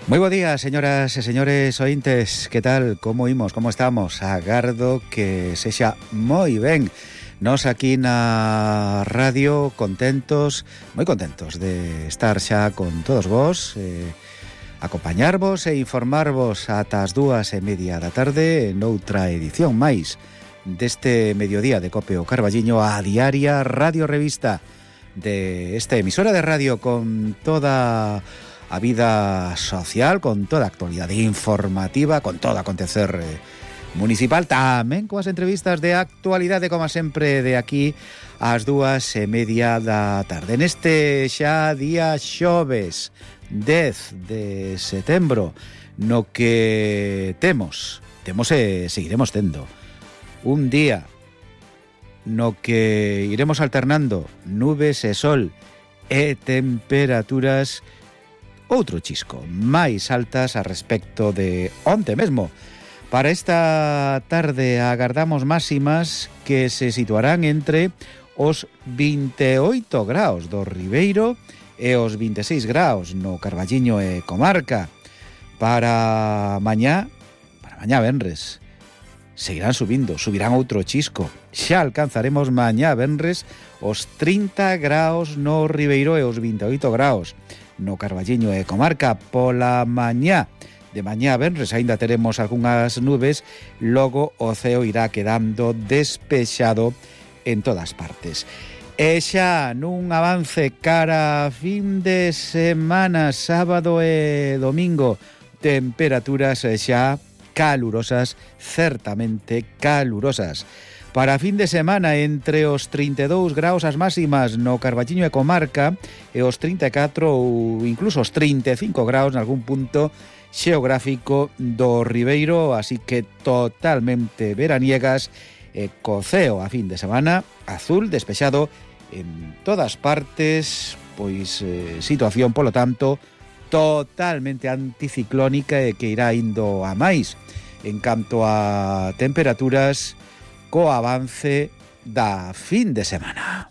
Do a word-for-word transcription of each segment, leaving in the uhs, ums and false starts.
Moi bo día, señoras e señores ointes. Que tal? Como imos? Como estamos? Agardo que sexa moi ben. Nos aquí na radio contentos, moi contentos de estar xa con todos vos, eh, acompañarvos e informarvos ata as dúas e media da tarde noutra edición máis deste mediodía de Cope o Carballiño, a diaria Radio Revista de esta emisora de radio con toda a vida social, con toda a actualidade informativa, con todo acontecer eh, municipal, tamén coas entrevistas de actualidade, como sempre, de aquí ás dúas e media da tarde. Neste xa día xoves dez de setembro, no que temos, temos e seguiremos tendo un día no que iremos alternando nubes e sol e temperaturas outro chisco máis altas a respecto de onte mesmo. Para esta tarde agardamos máximas que se situarán entre os vinte e oito graus do Ribeiro e os vinte e seis graus no Carballiño e comarca. Para mañá, para mañá venres, seguirán subindo, subirán outro chisco. Xa alcanzaremos mañá venres os trinta graus no Ribeiro e os vinte e oito graus no Carballiño e comarca. Pola mañá de mañá venres aínda teremos algunhas nubes, logo o ceo irá quedando despexado en todas partes. E xa nun avance cara a fin de semana, sábado e domingo, temperaturas xa calurosas, certamente calurosas. Para fin de semana, entre os trinta e dous graus as máximas no Carballiño e comarca e os trinta e catro ou incluso os trinta e cinco graus en algún punto xeográfico do Ribeiro, así que totalmente veraniegas e co ceo a fin de semana azul despexado en todas partes, pois eh, situación, polo tanto, totalmente anticiclónica e que irá indo a máis en canto a temperaturas co avance da fin de semana.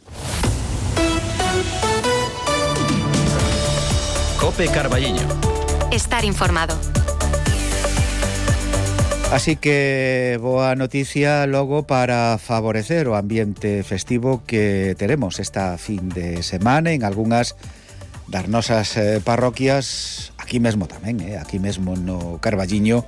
Cope Carballiño. Estar informado. Así que boa noticia logo para favorecer o ambiente festivo que teremos esta fin de semana en algunhas das nosas eh, parroquias, aquí mesmo tamén, eh, aquí mesmo no Carballiño.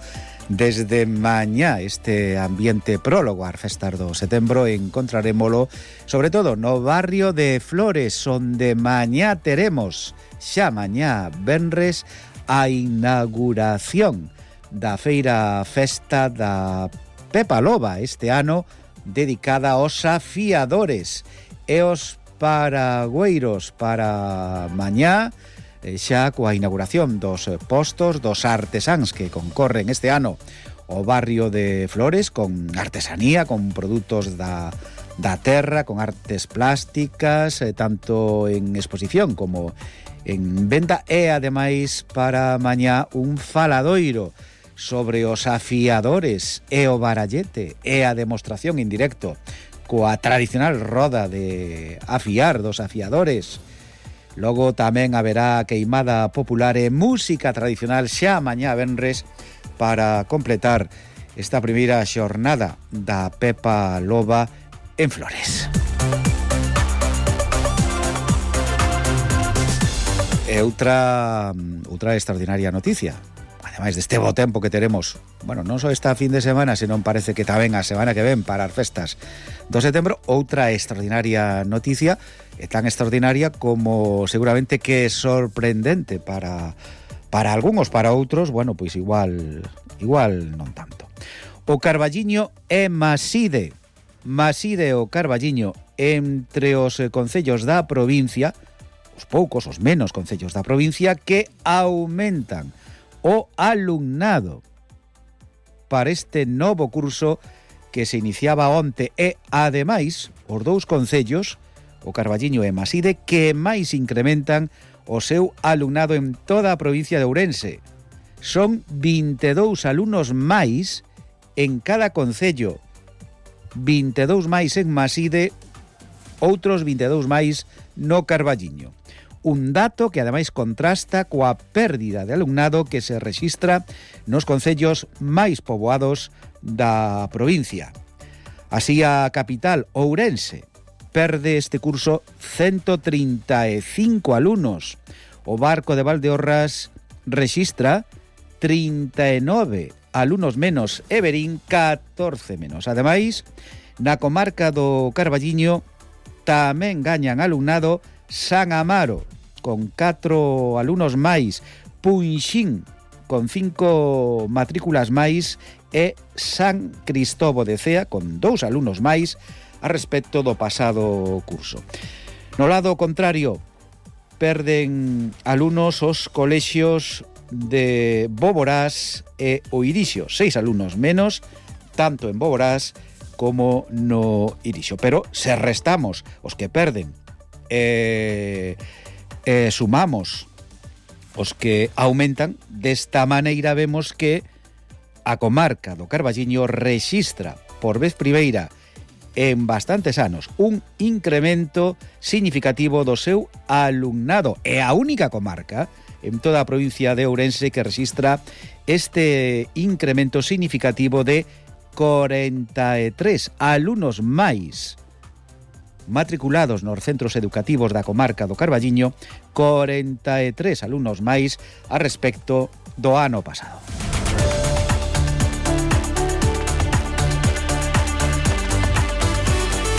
Desde mañá este ambiente prólogo ás festas do setembro encontrarémolo sobre todo no barrio de Flores, onde mañá teremos xa mañá venres a inauguración da feira festa da Pepa Loba, este ano dedicada aos afiadores e os paragüeiros. Para mañá xa coa inauguración dos postos dos artesáns que concorren este ano o barrio de Flores con artesanía, con produtos da, da terra, con artes plásticas, eh, tanto en exposición como en venta, e ademais para mañá un faladoiro sobre os afiadores e o barallete e a demostración en directo coa tradicional roda de afiar dos afiadores. Logo tamén haberá queimada popular e música tradicional xa mañá venres para completar esta primeira xornada da Pepa Loba en Flores. E outra, outra extraordinaria noticia, ademais deste bo tempo que teremos, bueno, non só esta fin de semana, senón parece que tamén a semana que ven para as festas do setembro, outra extraordinaria noticia, é tan extraordinaria como seguramente que é sorprendente para para algúns, para outros, bueno, pois igual igual non tanto. O Carballiño é Maside, Maside o Carballiño entre os concellos da provincia, os poucos, os menos concellos da provincia que aumentan o alumnado para este novo curso que se iniciaba onte e, ademais, os dous concellos, o Carballiño e Maside, que máis incrementan o seu alumnado en toda a provincia de Ourense. Son vinte e dous alumnos máis en cada concello, vinte e dous máis en Maside, outros vinte e dous máis no Carballiño. un dato que ademais contrasta coa pérdida de alumnado que se rexistra nos concellos máis poboados da provincia. Así, a capital, Ourense, perde este curso ciento trinta e cinco alumnos. O Barco de Valdeorras rexistra trinta e nove alumnos menos e Verín catorce menos. Ademais, na comarca do Carballiño tamén gañan alumnado San Amaro, con catro alumnos máis, Punxín, con cinco matrículas máis, e San Cristóbo de Cea, con dous alumnos máis a respecto do pasado curso. No lado contrario, perden alumnos os colexios de Boborás e o Irixo, seis alumnos menos, tanto en Boborás como no Irixo. Pero se restamos os que perden e, e sumamos os que aumentan, desta maneira vemos que a comarca do Carballiño rexistra por vez primeira en bastantes anos un incremento significativo do seu alumnado. É a única comarca en toda a provincia de Ourense que rexistra este incremento significativo de corenta e tres alumnos máis matriculados nos centros educativos da comarca do Carballiño, corenta e tres alumnos máis a respecto do ano pasado.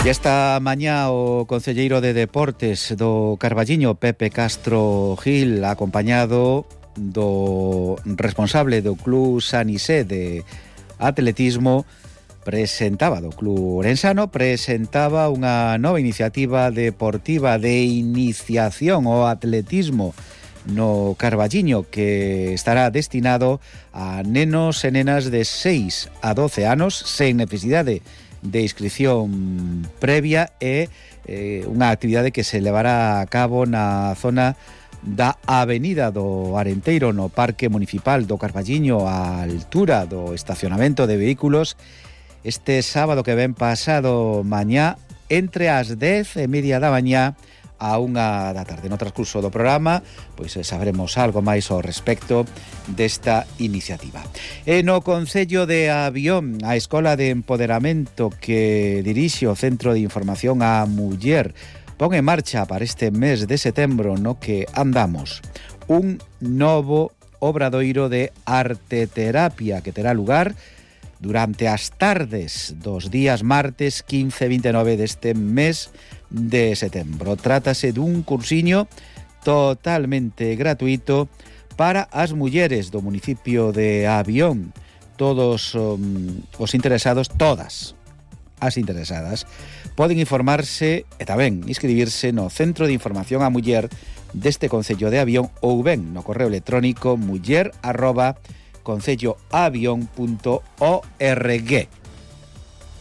E esta mañá o concelleiro de Deportes do Carballiño, Pepe Castro Gil, acompañado do responsable do Club Sanisé de atletismo, presentaba do Club Orensano, presentaba unha nova iniciativa deportiva de iniciación ao atletismo no Carballiño que estará destinado a nenos e nenas de seis a doce anos sen necesidade de inscripción previa e eh, unha actividade que se levará a cabo na zona da Avenida do Arenteiro, no Parque Municipal do Carballiño, á altura do estacionamento de vehículos, este sábado que ven pasado mañá, entre as dez e media da mañá a unha da tarde. No transcurso do programa, pois sabremos algo máis ao respecto desta iniciativa. E no Concello de Avión, a Escola de Empoderamento que dirixe o Centro de Información á Muller pon en marcha para este mes de setembro no que andamos un novo obradoiro de arteterapia que terá lugar durante as tardes dos días martes quince e vinte e nove deste mes de setembro. Trátase dun cursiño totalmente gratuito para as mulleres do municipio de Avión. Todos um, os interesados, todas as interesadas, poden informarse e tamén inscribirse no Centro de Información á Muller deste Concello de Avión ou ben no correo electrónico muller arroba concelloavión punto org.